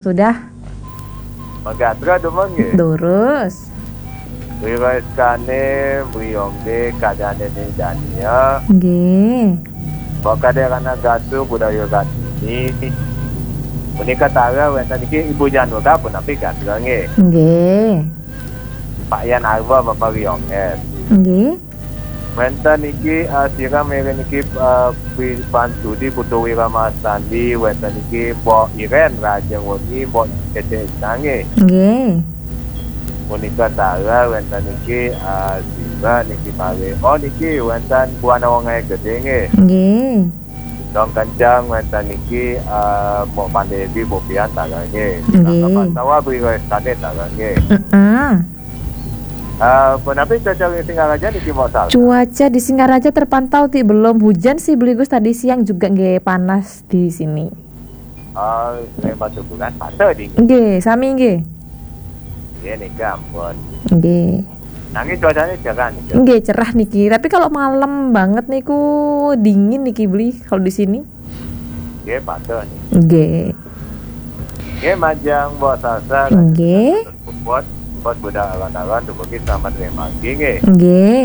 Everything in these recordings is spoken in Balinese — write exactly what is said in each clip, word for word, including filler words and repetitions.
Sudah? Magatra dumun nggih. Durus. Wiraskane mriyongge kadane ning Dania. Nggih. Mbok Kaderana Gatu budaya Gatini. Punika tara wenten iki Ibu Janura punapi gatra nggih. Nggih. Pak Yan Arwa Bapak Rionges. Nggih. Wenten iki, eh, sira mere niki, eh, Pi-, Pan Sudi Putu Wiramasandi, wenten iki Mbok Iren Rajeng Wengi, Mbok Cece Isange. Nggih. Punika tara wenten iki, eh, sira niki mare. Oh, niki wenten Buana Wonge Gede nggih. Nggih. Dong Kencang wenten iki, eh, Mbok Pandewi, Mbok Pian tara nggih. Nggih. Kapasawa Bri Westane tara nggih. Heeh. Eh, punapi cuaca ring Singaraja niki, Mbok Sal? Cuaca di Singaraja terpantau ti belum hujan sih, Beli Gus, tadi siang juga nggih panas di sini. Oh, ring Batu Bulan panas dingin. Nggih, sami nggih. Nggih, nika ampun. Nggih. Nanging cuacanya cerah nih. Nggih, cerah niki. Tapi kalau malam banget niku dingin niki, Beli, kalau di sini. Nggih, panas nih. Nggih. Nggih, majeng Mbok Salsa. Nggih. Buat, buat budak awan-awan, dumugi selamat ring margi nggih. Nggih.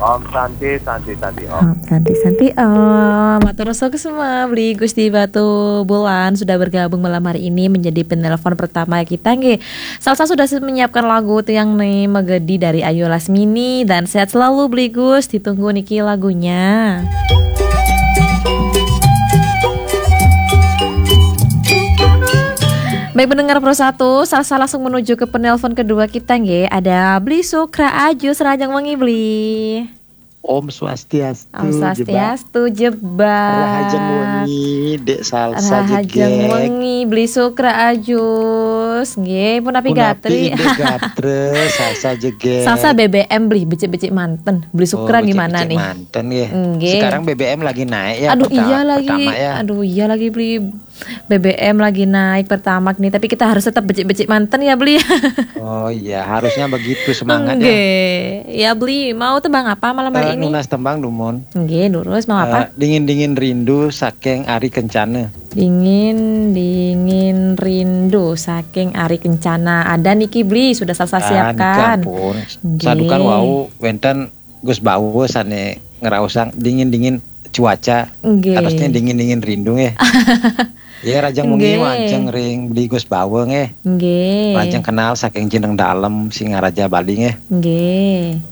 Om Santi, Santi, Santi, Om. Om Santi, Santi, Om. Matur suksma, Beli Gusti Batu Bulan sudah bergabung malam hari ini menjadi penelpon pertama kita nggih. Salsa sudah menyiapkan lagu Tiang Ne Magedi dari Ayu Lasmini, dan sehat selalu Beli Gus, ditunggu niki lagunya. Baik, pendengar Pro satu, Salsa langsung menuju ke penelpon kedua kita nggih. Ada Beli Sukra Ajus, rahajeng wengi, Beli. Om Swastiastu, Om Swastiastu, Jebak. Rahajeng wengi, Dek Salsa. Rahajeng wengi, Beli Sukra Ajus. Nggih, punapi gatri? Punapi, Dek, gatra, Salsa Jebak. Salsa B B M, Beli, becik-becik manten. Beli Sukra gimana nih? Oh, becik-becik manten nggih. Nggih. Sekarang B B M lagi naik ya. Aduh, iya lagi. Pertama ya. Aduh, iya lagi, Beli. B B M lagi naik, Pertamax nih, tapi kita harus tetap becik-becik manten ya, Beli. Oh iya, harusnya begitu semangatnya. Nggih. Ya, Beli, mau tembang apa malam hari ini? Eh, nunas tembang dumun. Nggih, durus, mau apa? Eh, Dingin-dingin Rindu saking Ari Kencana. Dingin-dingin Rindu saking Ari Kencana. Ada niki, Beli, sudah Salsa siapkan. Ah, niki ampun. Nggih. Sadukan wau wenten Gus Bawa sane ngraosang Dingin-dingin Cuaca. Nggih. Katosnya Dingin-dingin Rindu nggih. Ya, rahajeng wengi, nggih, majeng ring Beli Gus Bawa nggih. Nggih. Rahajeng kenal saking Jeneng Dalem, Singaraja, Bali nggih. Nggih.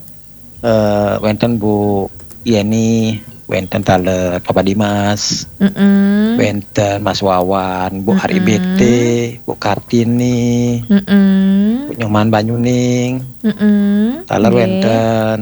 Eh, wenten Bu Yeni, wenten taler Papa Dimas, mm-mm, wenten Mas Wawan, Bu Ari, mm-mm, B T, Bu Kartini, mm-mm, Bu Nyoman Banyuning, mm-mm, taler, nggih, wenten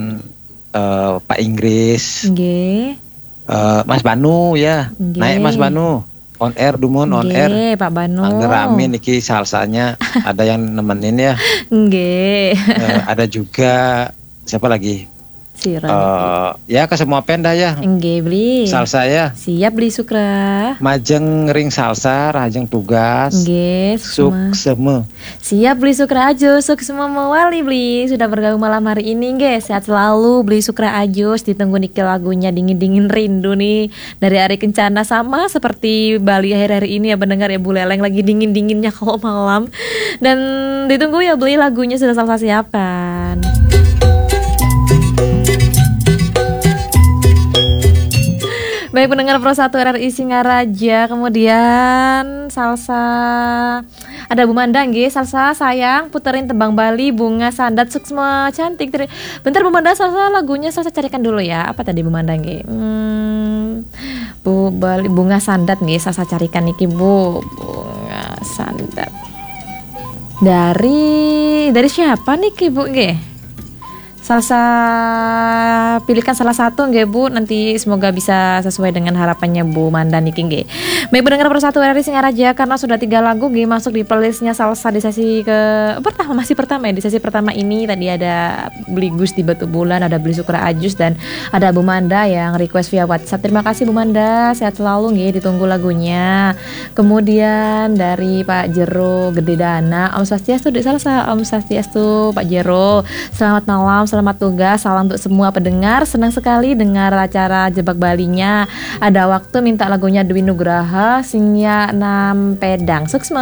eh, Pak Inggris. Nggih. Eh, Mas Banu ya. Nggih. Naik Mas Banu. On air dumun, on air. Nggih, Pak Banu. Mangga rame niki Salsanya, ada yang nemenin ya. Nggih. Eh, ada juga siapa lagi? Sira niki. Eh, ya, ke semua penda ya. Nggih, Beli. Salsa ya. Siap, Beli Sukra. Majeng ring Salsa, rahajeng tugas. Nggih, suksma. Suksma. Siap, Beli Sukra Ajus, suksma mawali, Beli, sudah bergabung malam hari ini nggih. Sehat selalu, Beli Sukra Ajus, ditunggu niki lagunya Dingin-dingin Rindu nih dari Ari Kencana, sama seperti Bali akhir-akhir ini ya, pendengar ya, Bu Leleng lagi dingin-dinginnya kalau malam. Dan ditunggu ya, Beli, lagunya sudah Salsa siapkan. Baik, pendengar Pro satu R R I Singaraja, kemudian Salsa. Ada Bu Manda nggih, Salsa sayang puterin tembang Bali Bunga Sandat, suksma cantik. Teri-, bentar Bu Manda, Salsa lagunya Salsa carikan dulu ya. Apa tadi Bu Manda nggih? Hmm, Bu Bali Bunga Sandat nggih, Salsa carikan niki, Bu. Bunga Sandat. Dari, dari siapa niki, Bu nggih? Salsa, pilihkan salah satu nggih, Bu, nanti semoga bisa sesuai dengan harapannya Bu Manda niki nggih. Baik, pendengar Pro satu R R I Singaraja, karena sudah tiga lagu nggih masuk di playlistnya Salsa di sesi ke pertama, masih pertama ya, di sesi pertama ini tadi ada Beli Gusti Batubulan, ada Beli Sukra Ajus, dan ada Bu Manda yang request via WhatsApp. Terima kasih Bu Manda, sehat selalu nggih, ditunggu lagunya. Kemudian dari Pak Jero Gede Dana, Om Swastiastu, Dek Salsa. Om Swastiastu, Pak Jero. Selamat malam, Selamat tugas, salam untuk semua pendengar. Senang sekali dengar acara Jebak Balinya. Ada waktu minta lagunya Dwi Nugraha, Sinyal Enam Pedang. Sukses.